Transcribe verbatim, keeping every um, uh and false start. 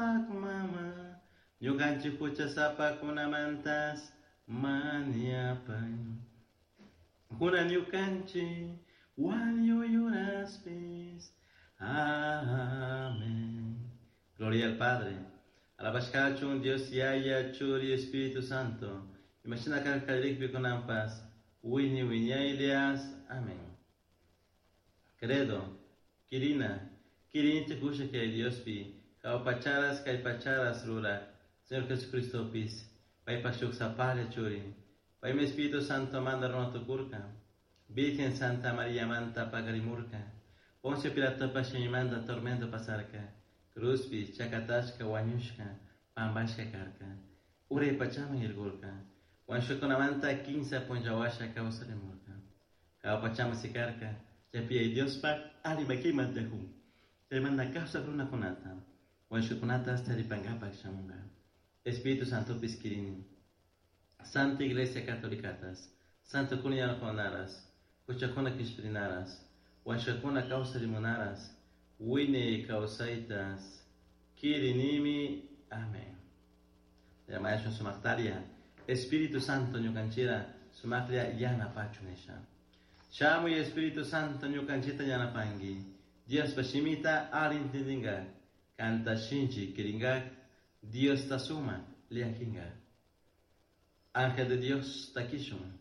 Diospaj mama, ñukanchik huchasapakunamantas mañapay. Kunan ñukanchik wañuy uraspis. Amén. Gloria al Padre. Alabashkachun Dios Yaya, Churi, Espíritu Santo. Imashina karka kunanpas. Wiñay wiñaylias. Amén. Credo. Kirina. Kirinchik ushak Diospi. Jahua pacharas kay pacharas ruraj. Señor Jesucristopis. Paypaj shuk sapalla churi. Paymi Espíritu Santo manta runa tukurka. Virgen Santa María manta pakarimurka. Poncio Pilatopa shimimanta tormento pasarka. Cruzpi chakatashka wañushka pampashka karka. Uray pachaman irkurka. Wañushkakunamanta kinsa punlla washa kawsarimurka. Jahua pachaman sikarka. Chaypi Diospaj alli makiman tiyakun. Chaymanta kawsak runakunata. Wañushkakunata taripankapak shamunka. Espíritu Santopis kirini. Santa Iglesia Catolicatas. Santo kunaras. Huchakuna kishpirinaras. Wañushkakuna kawsarimunaras. Wiñay kawsaytas. Kirinimi. Amén. Llamayashun sumaktaria. Espíritu Santo ñukanchira sumaklla yanapachun nisha. Shamuy Espíritu Santo ñukanchita yanapanki. Diospa shimita alli intindinga. Kanta shinchi kiringak. Diosta sumak llakinga. Ángel de Dios takishun.